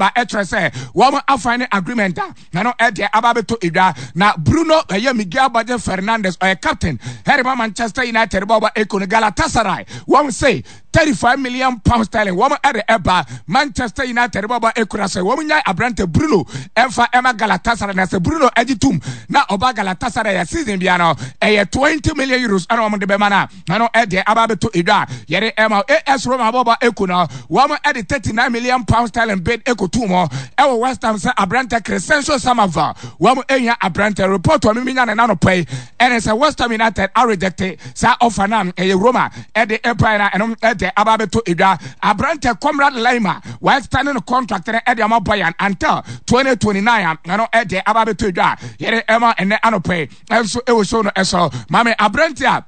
aba ɛkyerɛ sɛ wɔn afan ne agreement a na no ɛdeɛ aba abɛtɔ edwa na Bruno ɛyɛ Miguel Borges Fernandes ɔyɛ captain ɛde ma Manchester United bɔɔlbɔ eko no Galatasaray wɔn se 35 million pounds sterling wɔn ɛde ɛba Manchester United bɔɔlbɔ eko na sɛ wɔn nyae aberante Bruno ɛmfa ɛma Galatasaray na sɛ Bruno ɛgye tum na ɔba Galatasaray yɛ season bia no ɛyɛ 20 million euros ɛna wɔn de bɛma no na no ɛdeɛ aba abɛtɔ edwa a yɛde ɛma AS Roma bɔbɔ eko no wɔn ɛde 39 million pounds sterling bid ekotu mu ɛwɔ West Ham sɛ aberante Crescencio Samaval wɔn ehia aberante report wɔn minya ne nano pɛ ɛne sɛ West Ham United arejecte saa ɔfa no a ɛyɛ Roma ɛde ɛbae na ɛno ɛde aba abɛtɔ edwa aberante Conrad Laimer wɔn extend no contract no ɛde ama Bayern until 2029 a ɛno ɛde aba abɛtɔ edwa yɛde ɛma ɛnɛ anɔpɛ ɛnso ɛwɔ show no ɛso maame aberante a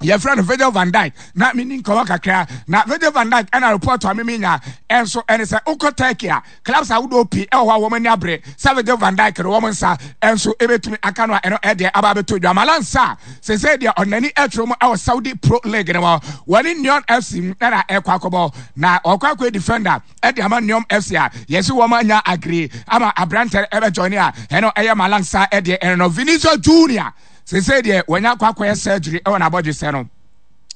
yɛfrɛ no Virgil van Dijk na meni nkɔmɔ kakra na Virgil van Dijk ɛna report a mimi nya ɛnso ɛne sɛ wokɔ Turkey a clubs ahodoɔ pii ɛwɔ hɔ a wɔn ani abere sɛ Virgil van Dijk no wɔn nsa ɛnso ɛbɛtumi aka no a ɛno ɛdeɛ aba abɛtɔ dwa Malang Sarr sese deɛ ɔnani ɛtwerɛ mu ɛwɔ Saudi Pro League no mu wɔne Neon FC ɛna ɛkɔ akɔbɔ na ɔkɔ akɔ defender ɛde ama Neon FC a yɛsi wɔn anya agree ama aberantɛ ɛbɛ join a ɛno ɛyɛ Malang Sarr ɛdeɛ ɛno no Vinicius Junior Seesei deɛ wanya akɔ akɔyɛ surgery ɛwɔ n'abɔdwesɛ no.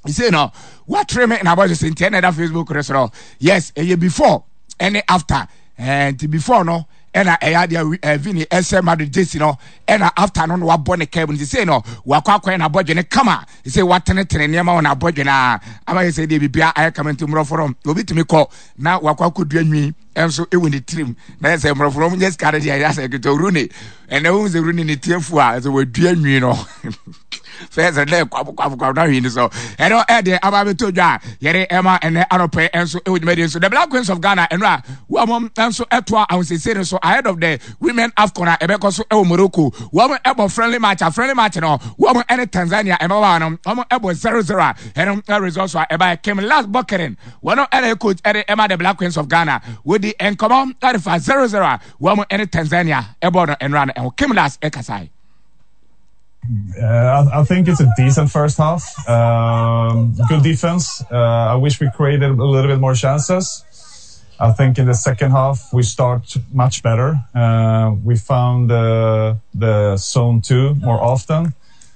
Seesei no watere me n'abɔdwesɛ nti ɛna ɛda Facebook no so no. Yes, ɛyɛ before ɛne after. Ɛɛ nti before no ɛna ɛyɛ adeɛ ɛɛ Vini ɛhyɛ Madrid jersey no ɛna after no na wabɔ ne kɛm nti seesei no wakɔ akɔyɛ n'abɔdwe no kama. Seesei watenetene nneɛma wɔ n'abɔdwe no a ama yɛ sɛ deɛ biribiara ayɛ kama nti mmorɔfo no obi tumi kɔ na wakɔ akɔdua nwi nso wɔ ne tirim na yɛ sɛ mmorɔfo no nyɛ sika no deɛ ɛyɛ sɛ ketewa Rooney ɛnna wohu sɛ Rooney ne tiafu a sɛ wadua nwi no fɛ sɛ dɛ kwabo kwabo kwabo na hwii no so ɛno ɛde aba abɛtɔ dwa a yɛde ɛma ɛnɛ anɔpɛ nso ɛwɔ dwumadie nso the Black Queens of Ghana ɛno a wɔn nso ɛtoa ahosiesie no so ahead of the Women AFCON a ɛbɛkɔ so ɛwɔ Morocco wɔn ɛbɔ friendly match a friendly match no wɔn ɛne Tanzania ɛmabaawa no wɔn ɛbɔ 0-0 a ɛno results a ɛbaeɛ Kim Lars Bokeren Wɔn ɛna coach ɛde ɛma the Black Queens of Ghana. Wɔdi nkɔmɔ ɛde fa 0-0 a wɔn ɛne Tanzania ɛbɔ no ɛnora no ɛho. Kim Lars ɛkasae. I think it's a decent first half. Good defense. I wish we created a little bit more chances. I think in the second half we start much better. We found the zone 2 more often.